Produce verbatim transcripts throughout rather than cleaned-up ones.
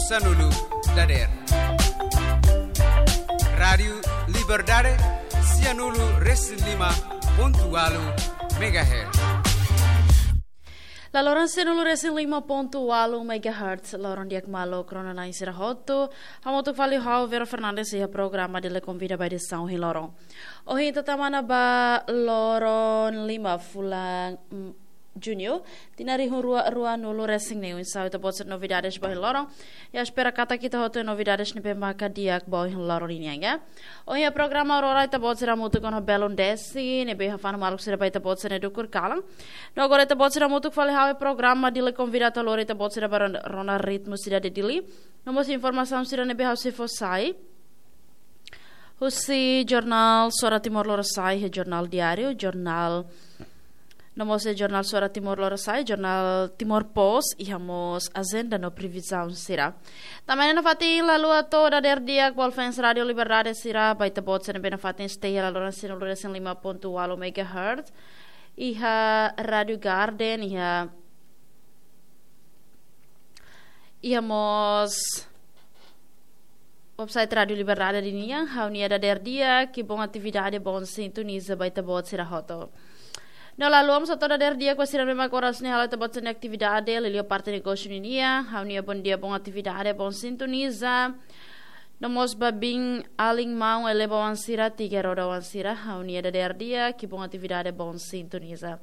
Sanulu dader. Rádiu Liberdade, sianulu resin lima pontu walu megahertz. Laloran sianulu resin lima pontu walu megahertz, loron di'ak maluk rona-na'in sira hotu. Hamutuk fali ho ha'u Vera Fernandes iha programa Dili Konvida ba edisaun ohin loron. Ohin ita tama ona ba loron lima fulan, mm, Júniu, tinan rihun rua ruanulu resin neen. Oinsá ita-boot sira novidades ba ohin loron. Ha'u espera katak ita hotu novidades ne'ebé maka di'ak ba ohin loron nian, ya. Ohin iha programa Aurora ita-boot sira hamutuk ona ho Belun Desi, ne'ebé hafanu maluk sira ba ita-boot sira-nia dukur kalan. No agora ita-boot sira hamutuk fali ho ha'u iha programa Dili Konvida atu lori ita-boot sira ba ron-, rona ritmu sidade Dili. No mós informasaun sira ne'ebé ha'u sei fó sai husi jornál Suara Timor Lorosa'e, iha jornál diáriu, jornál, no mós iha jornál Suara Timor Lorosa'e, jornál Timor Post, iha mós ajenda no previzaun sira. Tanba ne'e nafatin la haluha atu dader di'ak ba fans Rádiu Liberdade sira, ba ita-boot sira ne'ebé nafatin stay iha laloran sianulu resin lima pontu walu megahertz, iha Rádiu Garden, iha, iha mós website Rádiu Liberdade nian, ha'u-nia dader di'ak, ki'ik, bon atividade, bon sintoniza ba ita-boot sira hotu. No la haluha mós atu dader di'ak ba sira ne'ebé mak oras ne'e hala'o ita-boot sira-nia atividade, liuliu parte negósiu ninian, ha'u-nia bondia, bon atividade, bon sintoniza. No mós ba biin, alin, maun, eleva oan sira, tiga roda oan sira, ha'u-nia dader di'ak, ki'ik, bon atividade, bon sintoniza.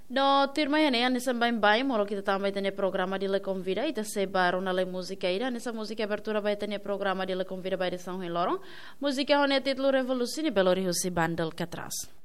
No tuirmai iha ne'e, hanesan baibain, molok ita tama ba ita-nia programa Dili Konvida, ita sei ba rona lai múzika ida, hanesan múzika abertura ba ita-nia programa Dili Konvida ba edisaun ohin loron. Múzika ho nia títulu Revolusi, ne'ebé lori husi banda Alcatraz.